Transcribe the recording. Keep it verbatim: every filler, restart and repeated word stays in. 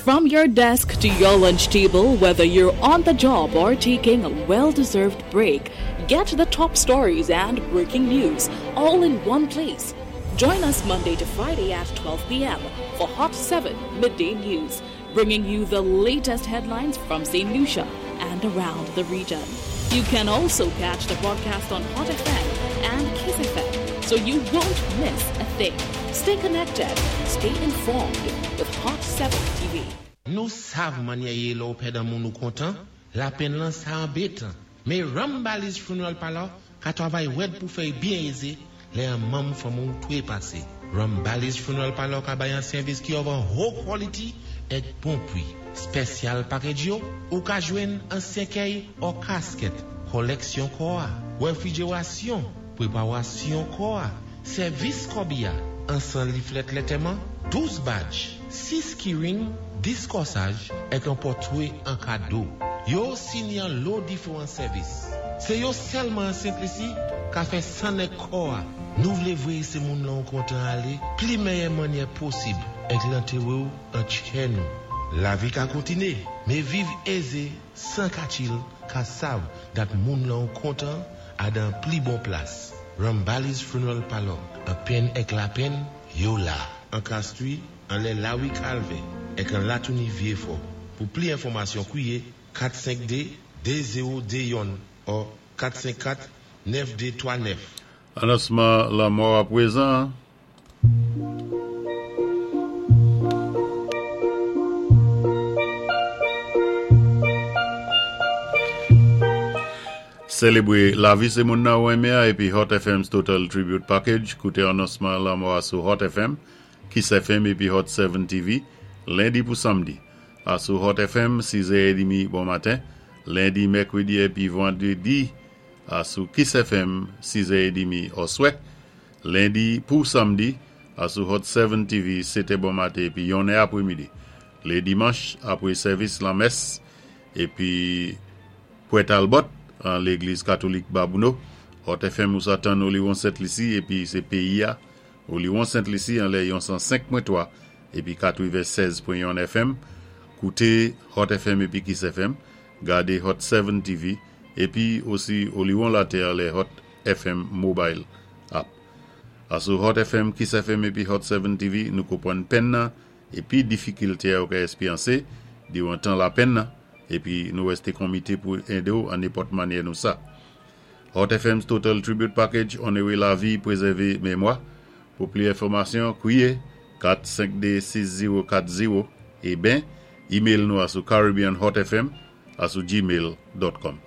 From your desk to your lunch table, whether you're on the job or taking a well deserved break, get the top stories and breaking news all in one place. Join us Monday to Friday at twelve p m for Hot seven Midday News, bringing you the latest headlines from Saint Lucia and around the region. You can also catch the broadcast on Hot F M and Kiss F M, so you won't miss a thing. Stay connected, stay informed with Hot seven T V. Nou sav mannyè i yé lè ou pèd an moun ou kontan, lapenn lan sa anbétan. Mé Rambali's Funeral Parlor ka twavay wèd pou fè byen ézé lè an manm fanmi ou twé pasé. Rambali's Funeral Parlor ka bay an sèvis ki of an haut quality èk bon pwi. Special package yo, ou ka jwenn an sèkèy ou kasket, koleksyon kò a, wefrijerasyon, pwépawasyon kò a, sèvis kòbiya, an san leaflet lantèman, douz badge, sis keyring, dis kòsaj, èk an pòtwé an kado. Yo sini an lo diféwan sèvis. Sé yo sèlman an Sent Lisi ka fè sann èk kò a. Nou vlé voyé sé moun lan ou kontan alé, pli méyè mannyè posib, èk lantéwé ou an tchè nou. Lavi ka kontiné, mé viv ézé, san katchil, ka sav dat moun lan ou kontan a dan pli bon plas. Rambali's Funeral Parlor, an penn èk lapenn, yo la. An Castries, anlè Lawi Calvin, èk an Latouni Vieux-Fort. Pou pli enfòmasyon, kwiyé kat senk de de zewo de youn ou kat senk kat nèf de twa nèf. Anonsman lanmò apwézan. Sélébwé lavi sé moun nan ou enmé épi Hot F M's Total Tribute Package. Kouté anonsman lanmò sou Hot F M, Kiss F M épi Hot sept T V, lendi pou samdi. A sou Hot F M, sis è trant bon maten, lendi, mèkwédi épi vandwédi, a sou Kiss F M, sis è trant oswè, lendi pou samdi, a sou Hot sept T V, sèt è bon maten épi yon è apwémidi. Lé dimanch, apwé sèvis lanmès, épi Pwè Talbot, an légliz katolik Babouno, Hot F M ou sa tann Oliwon Sent Lisi épi sé péyi a, Oliwon Sent Lisi anlè yon san senk pwen twa épi katwennsèz pwen youn F M. Kouté Hot F M épi Kiss F M, gadé Hot sept T V épi osi Oliwon Latè anlè Hot F M Mobile App. Asou Hot F M, Kiss F M épi Hot sept T V, nou konpwann penn nan épi difikilté ou ka èspéryansé diwan tan lapenn nan épi nou wésté konmité pou édé ou an nenpòt mannyè nou sa. Hot F M's Total Tribute Package, onoré lavi, pwézèvé mémwa. Pou pli enfòmasyon, kwiyé kat senk de sis zewo kat zewo é ben, email nou a sou caribbeanhotfm a sou gmail dot com.